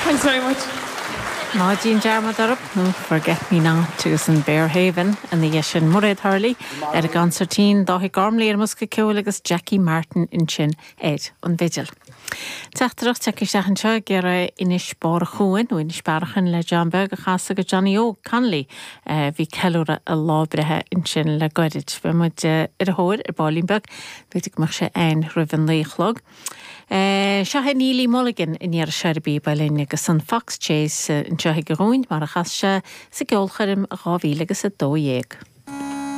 Thanks very much. Ná déan dearmad orm, nó Forget Me Not agus an Berehaven ina dhiaidh sin. Mairéad Hurley ar an gconsairtín, Dáithí Gormley ar an mbosca ceoil agus Jackie Martin ansin ar an bhfidil. Teachtaireacht tagtha isteach anseo ag iarraidh Inis Barr a' Chuain nó Inis Bearachain le John Beag a chasadh do Johnny Óg Connolly a bhí ag ceiliúradh a lá breithe ansin le goirid. Beidh muid ar a thóir ar baillín beag, b'fhéidir go mbeadh sé againn roimh an naoi a chlog. Seo é Neilí Mulligan an iarraidh seo ar an bpíob uilleann agus an Fox Chase anseo aige dhúinn mar a chas sé sa gceolchoirm 2012.